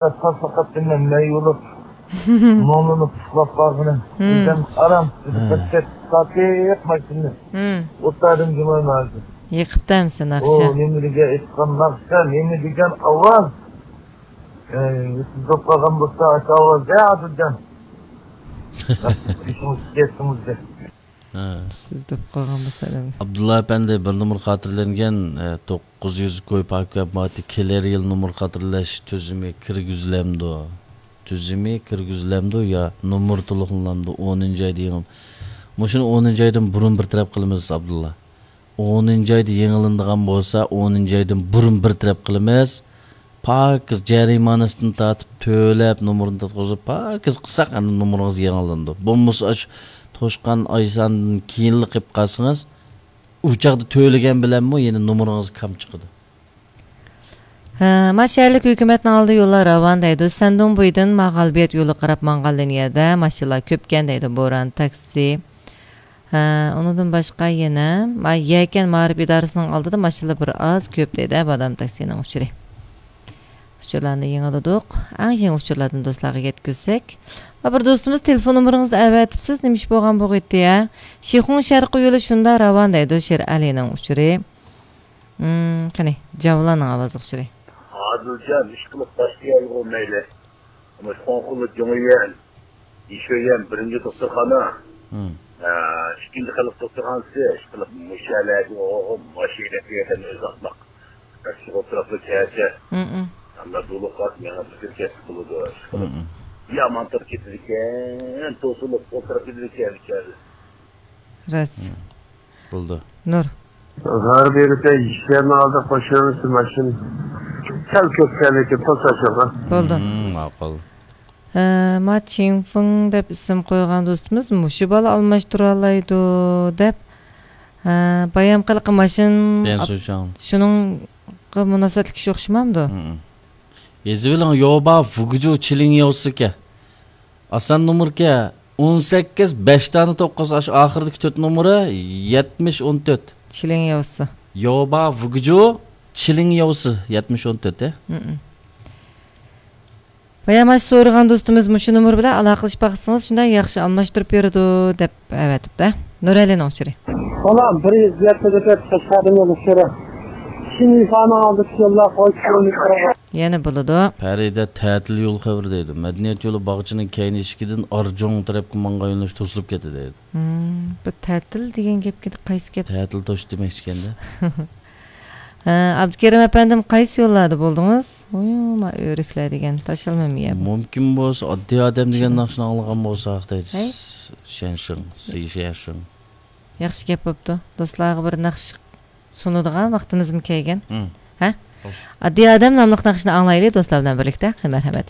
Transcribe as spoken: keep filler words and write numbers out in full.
تاسلىقاتتىن مەن مەي بولۇپ، مۇڭلىنىپ ئۇخلاپ قالغىنىم. ھىم. بىردەم ئارام، ھە. بىر چەت ساتىپ ماشىنىنى. ھىم. ئوتتادىن جۇمايما ھازىر. يېقىپتۇ ئەمسە ئۇ ناخشا. نېمە دېگەن ئېيتقان ناخشا، نېمە دېگەن ئاۋاز. ئەي، سىز دوپ قالغان بولسا، ئاشۇ ئاۋاز، ھە، ئادىلجان. ئىشىڭىز كەتتىڭىز دە. ھە. سىز دوپ قالغان بولسا، دەم. ئابدۇللا ئەپەندى، بىر نومۇر خاتىرىلەنگەن، ئە، توققۇز يۈز كوي پاكىت ماددىي كېلەر يىل نومۇر خاتىرىلەش تۈزۈمى كىرگۈزۈلەمدۇ؟ تۈزۈمى كىرگۈزۈلەمدۇ يا نومۇر تولۇقلىنامدۇ؟ ئونىنچى ئايدا يېڭىل-، مۇشۇنى ئونىنچى ئايدىن بۇرۇن بىر تەرەپ قىلىمىز، ئابدۇللا. ئونىنچى ئايدا يېڭىلىنىدىغان بولسا، ئونىنچى ئايدىن بۇرۇن بىر تەرەپ قىلىمىز. پاكىز جەرىمانىسىدىن تارتىپ تۆلەپ، نومۇرنى تارتقۇزۇپ، پاكىز قىلساق، ئەمدى نومۇرىڭىز يېڭىلىنىدۇ. بولمىسا، ئاشۇ توشقان ئايساندىن كېيىنلا قىلىپ قالسىڭىز، ئۇ چاغدا تۆلىگەن بىلەنمۇ يەنە نومۇرىڭىز كام چىقىدۇ. ھە، ما شەھەرلىك ھۆكۈمەتنىڭ ئالدىدا يوللار راۋان دەيدۇ. سەندۇڭ بويىدىن ما غالىبىيەت يولىغا قاراپ ماڭغان لىنىيەدە ماشىنىلار كۆپكەن دەيدۇ. بوران، تاكسى. ھە، ئۇنىڭدىن باشقا يەنە ما يەكەن مائارىپ ئىدارىسىنىڭ ئالدىدا ماشىنىلار بىر ئاز كۆپ دەيدۇ. بادام تاكسىنىڭ ئۇچۇرى. ئۇچۇرلارنى يېڭىلىدۇق. ئەڭ يېڭى ئۇچۇرلاردىن دوستلارغا يەتكۈزسەك. ما بىر دوستىمىز تېلېفون نومۇرىڭىزنى ئەۋەتىپسىز، نېمە ئىش بولغان بولغىيتتى يا؟ شىخۇڭ شەرقىي يولى شۇنداق راۋان دەيدۇ، شېرئەلىنىڭ ئۇچۇرى. مم، قېنى، جاۋلاننىڭ ئاۋازلىق ئۇچۇرى. ئادىلجان، ئىشقىلىپ باشلىيالىغۇ مەيلى. مۇشۇ خوڭخۇللا جۇڭيۈەن، يىشۆيۈەن بىرىنچى دوختۇرخانا، مم. ئە، ئىككىنچى خەلق دوختۇرخانىسى، ئىشقىلىپ مۇشۇ يەرلەرگە ئوغۇم ماشىنا يەردىن ئۆزى ئاتماق. ئىشقىلىپ ئولتۇراپلا كەچە. مم. ئەمما دولۇق قاس مېڭىپ كېتىپ بولىدۇ. ئىشقىلىپ مم. يامان تۇرۇپ كېتىدىكەن، توسۇلۇپ ئولتۇرۇپ كېتىدىكەن بىچارە. راست. مم. بولدى. نۇر. غەربىي بىر يىگىرمە ئالدى قوشۇلۇشى ماشىنا سەل كۆپ كەلدىكى توساشىغا. بولدى. مم، ماقۇل. ھە، ما چىڭفېڭ دەپ ئىسىم قويغان دوستىمىز مۇشۇ بالا ئالماشتۇرالايدۇ دەپ، ھە، بايام قىلىقى ماشىنا بيەن ئاپ-، سۇشاڭ. شۇنىڭغا مۇناسىۋەتلىك ئىش ئوخشىمامدۇ؟ مم. يېزىۋېلىڭ، يوبا ۋۇگجۇ چىلىڭ ياۋسىكەن. ئاسان نومۇركەن، ئون سەككىز، بەش دانە توققۇز، ئاشۇ ئاخىرىدىكى تۆت نومۇرى يەتمىش ئون تۆت. چىلىڭ ياۋسى. يوبا ۋۇگجۇ، چىلىڭ ياۋسى، يەتمىش ئون تۆت، ھە؟ مم. بايام ئاشۇ سورىغان دوستىمىز مۇشۇ نومۇر بىلەن ئالاقىلىشىپ باقسىڭىز، شۇنداق ياخشى ئالماشتۇرۇپ بېرىدۇ دەپ ئەۋەتىپتۇ. نۇرەلىنىڭ ئۇچۇرى. بالام، بىر يۈز يەتتە دەپ قەشقەردىن يوللىشىرى. شىنىفانىڭ ئالدىدىكى يوللار قويۇپ يەنە بولىدۇ. پەرىدە تەتىل يول خەۋىرى دەيدۇ. مەدەنىيەت يولى باغچىنىڭ كەينى ئىشىكىدىن ئارجۇڭ تەرەپكە ماڭغان يۆنىلىش توسۇلۇپ كەتتى دەيدۇ. ھىم، بۇ تەتىل دېگەن گەپكە قايسى گەپ؟ تەتىل توشۇش دېمەكچىكەندە. ھە، ئابدۇكېرىم ئەپەندىم، قايسى يوللاردا بولدىڭىز؟ ۋوي، ما ئۆرۈكلەر دېگەن تاشلىمىمۇ يەر. مۇمكىن بولسا، ئاددىي ئادەم دېگەن ناخشىنى ئاڭلىغان بولساق دەيدۇ. ھەي؟ شيەنشىڭ، سى شيەنشىڭ. ياخشى گەپ بوپتۇ. دوستلارغا بىر ناخشا سۇنىدىغان ۋاقتىمىزمۇ كەلگەن. ھىم. ھە؟ خوش. ئاددىي ئادەم ناملىق ناخشىنى ئاڭلايلى دوستلار بىلەن بىرلىكتە. قېنى، مەرھەمەت.